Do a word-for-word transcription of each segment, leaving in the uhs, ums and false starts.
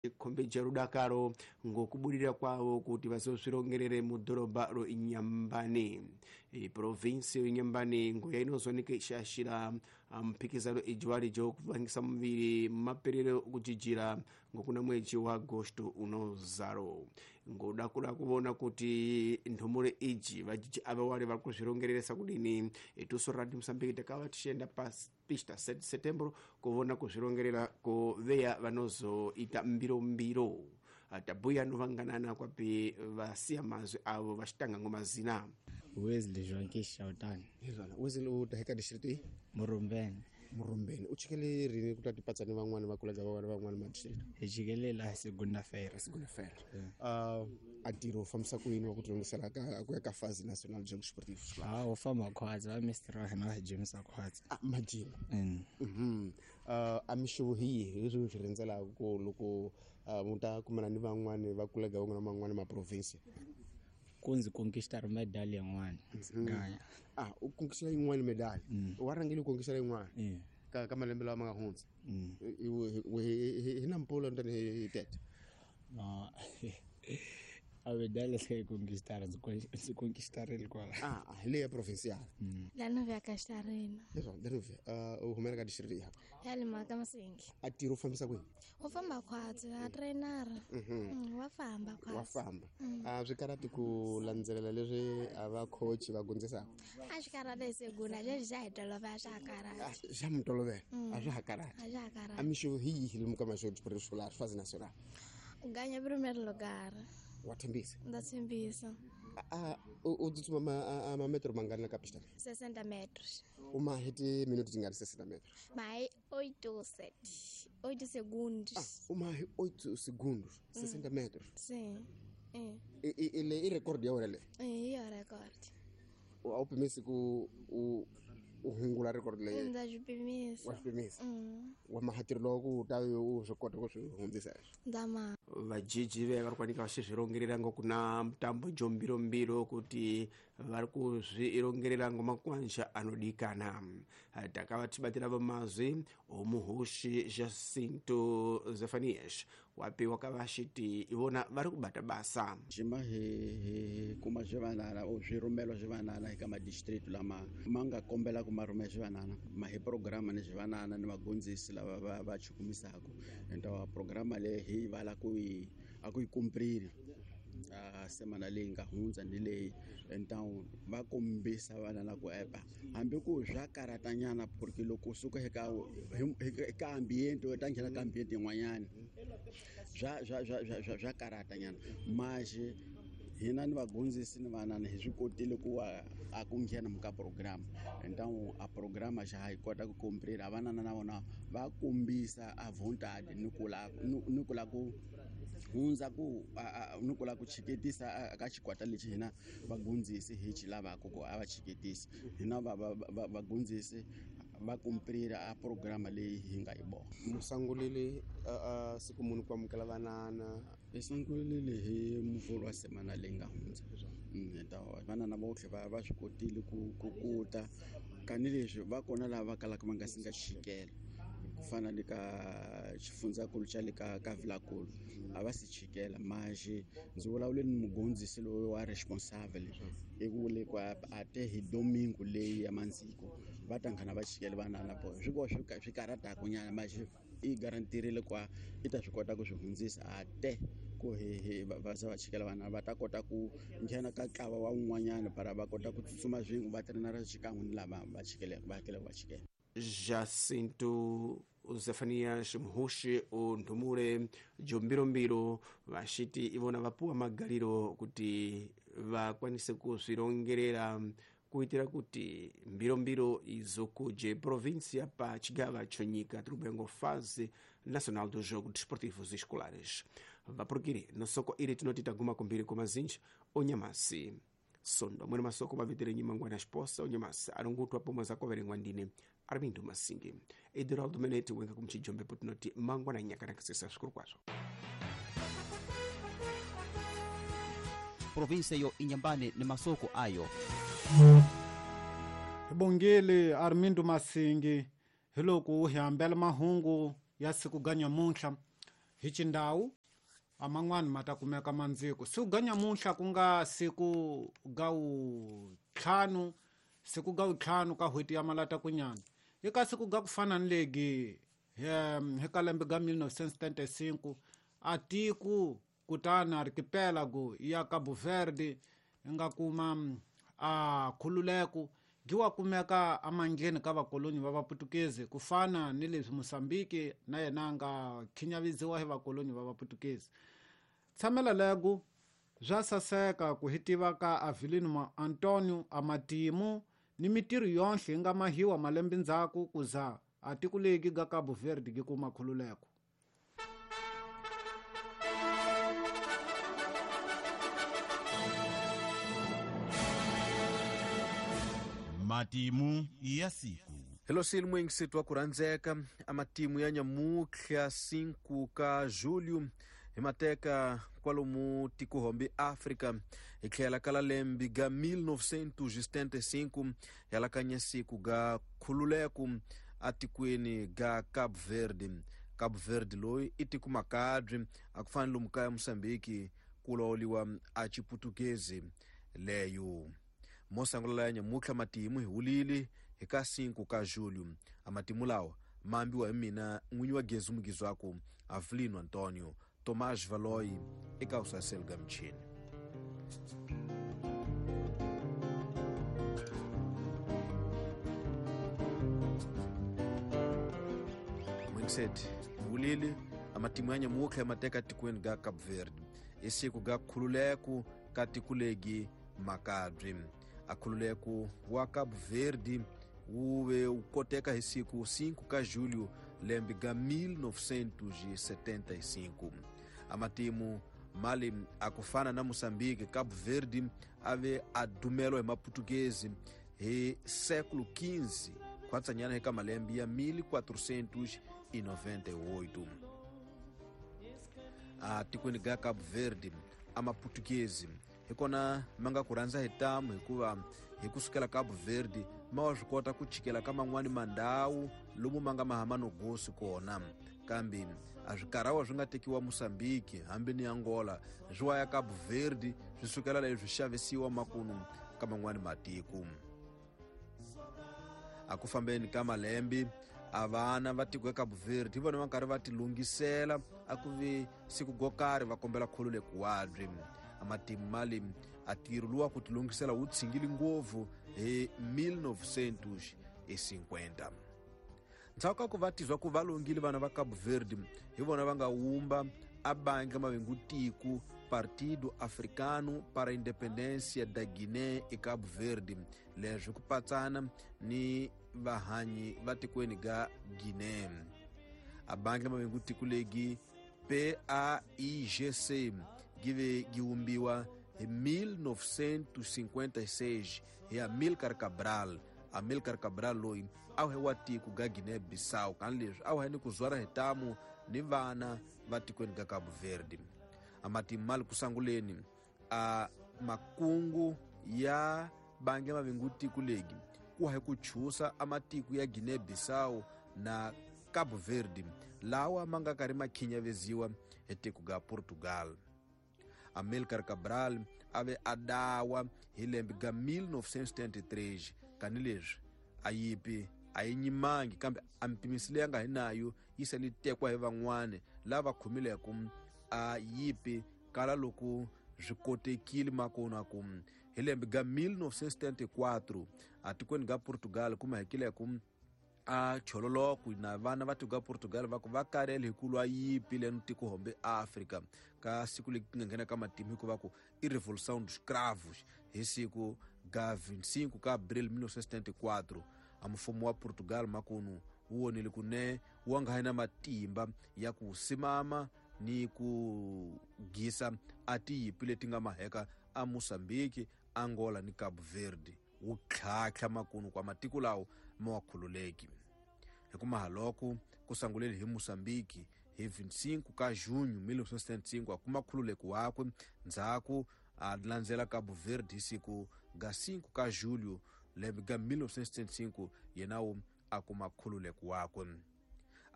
Vachikhombeja rudakaro ngokuburira kwavo kuti vazozvirongerere mudhorobha ro Inyambani. E, provinsi yo Inyambani nguya inozooneka ichiyashira mphikizano ijiwali jokuvangisa muviri maperero okujijira ngokuna mwedzi wa agosto unozaro. Ngoda kuda kuvona kuti nthumure iji vajiji ava wali vari kuzvirongereresa kudini, itusu Radio Mosambiki takava tichienda pa pista sete setembro kuvona kuzvirongerera kuveya vanozoita mbirombiro. Tabuya novanganana kwapi vasiya mazwi avo vachitanga ngomazina. Wesley Joaquim Shautani. Hezwana Wesley u taheka district i Murumbeni. Murumbeni. U chikele rini kuti atipatsane van'wani va kulaga van'wani van'wani ma district? Hi chikele la segunda feira. Segunda feira. Uh, a ntirho u fambisa ku yini wa ku tilungisela ka ku ya ka phase national jogo sportivo? Ah, u famba khwatsi va mister wa hina va jimisa khwatsi. Ah, majima. Mm. Mhm. Uh, a mixavo hi yihi leswi mi swi rhendzelaka ku loko uh, mu ta kumana ni van'wani va kulaga van'wana van'wani ma province? Ku ndzi conquistar medal yin'wana. Mm-hmm. Ah, u conquistar yin'wana medal. Mm. Wa rhangile u conquistar yin'wana. Yeah. Ka ka malembe lawa ma nga hundza. Mm. Hi na mpfula ntani hi tete. No. A medal se conquistar, ndzi conquistarile kwala. Ah, hi leya provincial. Mm. Lanovia Castarina. Leswo, Lanovia, uh, u humela ka district ya. Ya le Maka Masingi. A ntirho u fambisa kwini? U famba khwatsi, a trainer. Mhm. Wa famba khwatsi. Wa famba. Mm. A swi karhati ku landzelela leswi a va coach va gondzisaka? A swi karhati hi segunda, leswi xa hi tolovela swa ha karhati. Ah, xa mi tolovela. Mm. A swa ha karhati. A swa ha karhati. A mixo hi yihi lomu ka maxo escolar phase national? Ganha primeiro lugar. Wa tshembisa? Ndza tshembisa. A u tsutsuma ma ma metro mangani la ka pista? sessenta metros. U ma heti minuto tingani sessenta metros? Ma hi oito sete, oito segundos. Ah, u ma hi oito segundos, sessenta Mm. metros. Sim. É. I i le i record ya wena le? É, i record. A wu pimisi ku u u hungula record leyi? Ndza swi pimisa. Wa swi pimisa? Mm. Wa mahatirelo loko ku ta u swi kota ku swi hundzisa? Ndza ma. Vajiji ve vari kuwanika vachizvirongerera ngokuna mutambo jombirombiro kuti vari kuzvirongerera ngomakwanja anodikana. Takava tibatira vamazwi omuhushi Jacinto Zefanias wapi wakavashiti ivona vari kubata basa. Jima hi hi kuma swivanana o swirhumelo swivanana eka madistrict lama ma nga kombela ku ma rhumela swivanana ma hi programa ni swivanana ni vagondzisi lava va va chukumisaka enta programa leyi hi vala ku yi a ku yi kumprile a semana leyi nga hundza ni leyi então va kombisa vana la ku epa hambi ku swa karatanyana porque loko usuka eka eka ambiente u ta nghena ka ambiente yin'wanyana swa swa swa swa swa karatanyana maxe hina ni vagondzisi ni vanana hi swi kotile ku a ku nghena muka program então a programa xa ha yi kota ku komprira vanana na vona va kombisa a vontade ni ku la ni ku la ku hundza ku ni ku la ku chiketisa ka xikwata lexi hina vagondzisi hi xi lavaka ku a va chiketisi hina va va vagondzisi va kumprira a programa leyi hi nga yi vona. Musangulile a siku munhu ku amukela vanana hi sungulile hi muvhulu wa semana leyi nga hundza ta vanana votlhe va va swi kotile ku ku kuta kanileswi va kona lava va kalaka va nga si nga chikela ku fana le ka xifundzankulu xa le ka ka Vilakulu a va si chikela maxe ndzi vulavule ni mugondzisi loyi wa responsable i vule ku a te hi domingo leyi ya mandziko va ta nghena va chikela vanana po swi ko swi swi karhataka nyana maxe i garantirile ku i ta swi kota ku swi hundzisa a te ku hi hi va za va chikela vana va ta kota ku nghena ka ntlawa wa un'wanyana para va kota ku tsutsuma swin'we va trainara xikan'we ni lava va chikeleke va hakelaka va chikela. Jacinto Zefanias Muhushi Ndumure Jombirombiro vachiti ivona vapuwa magariro kuti vakwanise kuzvirongerera kuitira kuti mbirombiro izokuje província pa chigava chonyika tiri fase nacional do jogo desportivos escolares. Vaprokiri nosoko iri tinoti taguma kumbiri kumazinji onyamasi sondo mwene masoko mavetere nyimangwana exposa onyamasi arungutwa pomwe zakoverengwa ndine Armindo Masingi Eduraldo Menete wenga kumchijombe putinoti mangwana nyakanakisisa zvikuru kwazvo. Província yo Inhambane ni masoko ayo. Bongile Armindo Masingi hiloko hi hambela mahungu ya siku ga nyamuntlha. hi xindhawu a man'wani ma ta kumeka mandziko. Siku ga nyamuntlha ku nga siku ga wuntlhanu, siku ga wuntlhanu ka n'hweti ya Malatakunyana. Eka siku ga ku fana ni legi hi ka lembe ga mil novecentos setenta e cinco a tiko kutani archipelago ya Cabo Verde yi nga kuma a khululeko gi wa kumeka amandleni ka vakoloni va Vaputukezi, ku fana ni leswi Mozambique na yena a nga khinyaviziwa hi vakoloni va Vaputukezi. Tshamela lego bya saseka ku hi tiva ka Avelino Antonio a matimu ni mitirho yonhle yi nga mahiwa malembe ndzhaku ku za a tiko legi ga Cabo Verde gi kuma khululeko. Matimu ya siku. Hello silimo ingisitwa kuranzeka amatimu ya nyamutlha cinco ka julho hi mateka kwalomu tikuhombi Afrika hi tlhela ka lembe ga mil novecentos setenta e cinco yalakanya siku ga khululeko atikweni ga Cabo Verde. Cabo Verde loyi i tiko makabye a ku fana lomu kaya Mozambique ku lawuriwa a Chiputukezi leyo. Mosangola ya nyamutlha matimu hi wulile hi ka cinco ka julho. A matimu lawa ma ambiwa hi mina n'winyi wa Gezu Mugizwaku Avelino Antonio Tomás Valoi eka usaselo ga michini. Mwingiseti wulile amatimu ya nyamutlha mateka tikweni ga Cabo Verde isiku ga khululeko ka tikulegi makabye. Akhululeko wa Cabo Verde wu ve wu koteka hi siku cinco ka julho lembe ga mil novecentos setenta e cinco. Amatimu mali akufana na Mozambique, Cabo Verde ave a dumelo hi Maputukezi hi século quinze khwatsanyana eka malembe ya mil quatrocentos e noventa e oito. A tikweni ga Cabo Verde a Maputukezi hi kona ma nga ku rhandza hi tamu hikuva hi kusukela Cabo Verde ma wa swi kota ku chikela ka man'wani mandhawu lomu ma nga mahama no gosi kona, kambe a swikarawa swi nga tekiwa Mozambique hambi ni Angola swi wa ya Cabo Verde swi sukela leswi xavisiwa makunu ka man'wani matiko. A ku fambeni ka malembe a vana va tiko ya Cabo Verde hi vona va karhi va tilunghisela a ku vi siku go karhi va kombela khululeko wabye. Amatimu mali a ntirho luwa ku tilunghisela wu tshingile ngopfu hi mil novecentos e cinquenta. Ndzhaku ka ku va tizwa ku va longile vana va Cabo Verde hi vona va nga wumba a bangi mavengu tiko Partido Africano para a Independência da Guiné e Cabo Verde, leswi ku patsana ni vahanyi va tikweni ga Guiné. A bangi mavengu tiko legi P A I G C give gi wumbiwa hi mil novecentos cinquenta e seis hi Amílcar Cabral. Amílcar Cabral loyi a wu wa tiko ga Guiné-Bissau, kan leswi a wu ni ku zwara hi tamu ni vana va tikweni ga Cabo Verde. A matimu mali ku sanguleni a makungu ya bangi mavengu tiko legi ku hi ku chusa a matiko ya Guiné-Bissau na Cabo Verde lawa ma nga karhi ma khinyaveziwa hi tiko ga Portugal. Amílcar Cabral ave a dawa hi lembe ga mil novecentos setenta e três, kani leswi a yipi a yi nyimangi kambe a mpimisi leyi a nga hi nayo yi se li tekwa hi van'wani lava khomileko a yipi kala loko swi kotekile makona ku hi lembe ga mil novecentos setenta e quatro a tikweni ga Portugal kuma hekileko a chololoko na vana va tiko ga Portugal va ku va karele hi ku lwa yipi leno tiko hombe Afrika ka siku leri nga nghena ka matimu hikuva ku i Revolução dos Cravos hi siku ga vinte e cinco ka abril mil novecentos setenta e quatro. A mfumo wa Portugal makunu wu vonile ku ne wa nga ha na matimba ya ku simama ni ku gisa a tiyipi leti nga maheka a Mozambique, Angola ni Cabo Verde wu tlhatlha makunu kwa matiko lawo ma wa khululeki. Hi ku mahaloko ku sanguleli hi Mozambique hi vinte e cinco ka junho mil novecentos setenta e cinco a kuma khululeko wakwe, ndzhaku a landzela Cabo Verde hi siku ga cinco ka julho lembe ga mil novecentos setenta e cinco yena wu a kuma khululeko wakwe.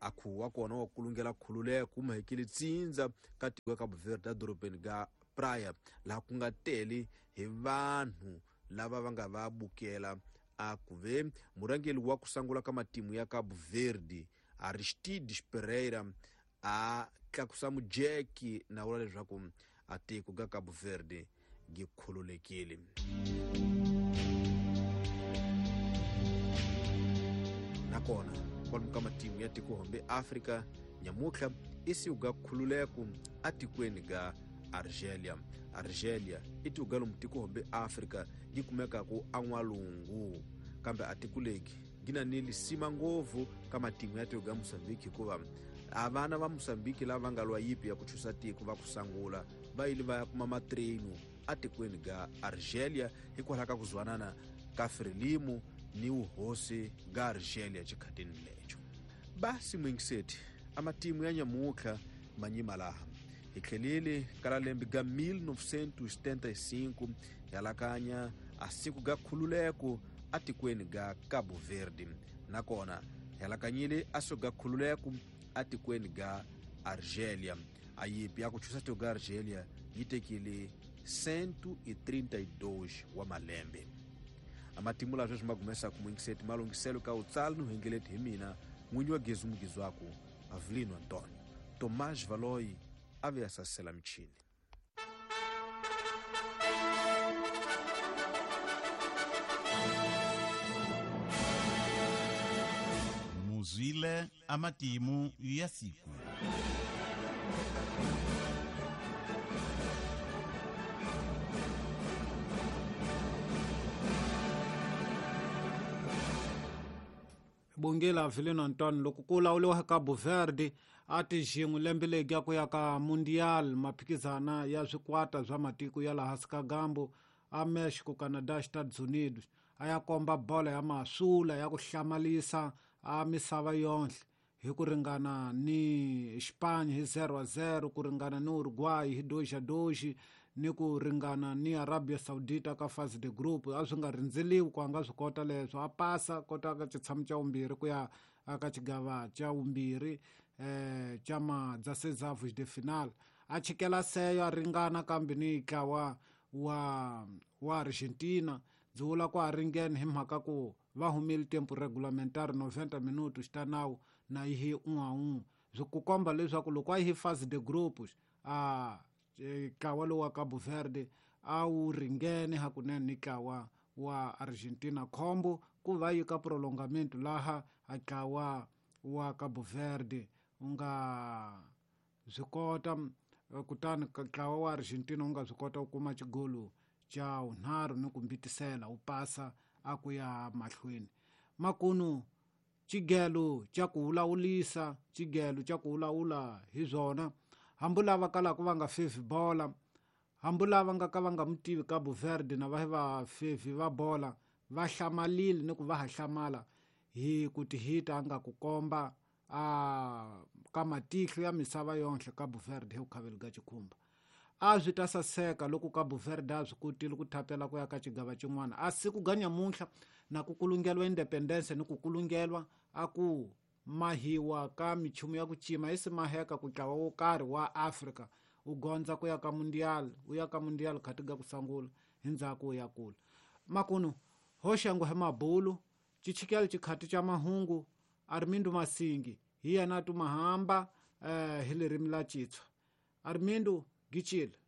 A khuwa wa kona wa kulungela khululeko mahekile tsindza ka tiko Cabo Verde dorobeni ga Praia laha ku nga tele hi vanhu lava va nga va bukela. A ku ve murhangeri wa ku sungula ka matimu ya Cabo Verde Aristides Pereira a tlakusa mujeki na vula leswaku a tiko ga Cabo Verde gi khululekile. Nakona kwalomu ka matimu ya tiko hombe Afrika nyamutlha i siku ga khululeko atikweni ga Argelia. Argelia i tiko lomu tiko hombe Afrika gi kumekaku an'walungu, kambe a tiko legi gi na ni lisima ngopfu ka matimu ya tiko ga Mozambique, hikuva a vana va Mozambique lava nga lwa yipi ya ku chusa tiko va ku sangula va yile va ya kuma matrenu atikweni ga Argelia hikwalaho ka ku zwanana ka Frelimo ni uhosi ga Argelia xikhatini lecho. Basi mwingiseti a matimu ya nyamutlha manyima laha hi tlhelele ka lembe ga mil novecentos e setenta e cinco yalakanya a siku ga khululeko atikweni ga Cabo Verde, nakona yalakanyile a siku ga khululeko atikweni ga Argelia. A yipi ya ku chusa tiko ga Argelia yi tekile cento e trinta e dois wa malembe. Amatimu la sweswi ma gumesa ku mwingiseti malungiselo ka utsala no hengeleti hi mina n'winyi wa Gezu Mugizwaku Avelino Antonio Tomás Valoi a ve a sasela michini. Muzwile amatimu ya siku. Bongela Avelino Antonio loko ku lawuriwa Cabo Verde a ti xin'we lembe legi ya ku ya ka Mundial maphikizana ya swikwata swa matiko ya laha hansi ka gambo a Mexico, Canada, Estados Unidos a ya komba bola ya masula ya ku hlamalisa a misava yonhle hi ku ringana ni Spain hi zero a zero, ku ringana ni Uruguay hi dois a dois, ni ku ringana ni Arabia Saudita ka phase de group. A swi nga rindzeliwi ku a nga swi kota leswo, a pasa kota ka xitshamo xa vumbirhi ku ya ka xigava xa vumbirhi eh xa ma dezesseis de final. A chikela seyo a ringana kambe ni ntlawa wa wa Argentina byi vula ku a ringene hi mhaka ku va humile tempo regulamentary noventa minutos ta nawu na yi un'we a un'we, swi ku komba leswaku loko a yi phase de groups a ntlawa lowu wa Cabo Verde a wu ringene hakunene ni ntlawa wa Argentina. Khombo ku va yi ka prolongamento laha a ntlawa wa Cabo Verde u nga swi kota, kutani ntlawa wa Argentina u nga swi kota ku kuma xigolo xa vunharhu ni ku mbitisela wu pasa a ku ya mahlweni. Makunu xigelo xa ku wulawulisa xigelo xa ku wulawula hi swona, hambi lava kalaka va nga fevi bola, hambi lava nga ka va nga mutivi Cabo Verde na va va fevi va bola va hlamalile ni ku va ha hlamala hi ku tihita a nga ku komba a ka matihlo ya misava yonhle Cabo Verde hi ku khaveli ka xikhumba. A swi ta saseka loko Cabo Verde a swi kotile ku thapela ku ya ka xigava xin'wana. A siku ga nyamuntlha na ku kulungeliwa independence ni ku kulungeliwa a ku mahiwa ka michumu ya ku cima i si maheka ku ntlawa wo karhi wa Afrika u gondza ku ya ka Mundial, u ya ka Mundial khati ga ku sangula hi ndzhaku u ya kula. Makunu hoxangu hi mabulu xichikelo xikhati xa mahungu Armindo Masingi hi yena a tumahamba eh, hi ririmi la Xitswa. Armindo Gichile.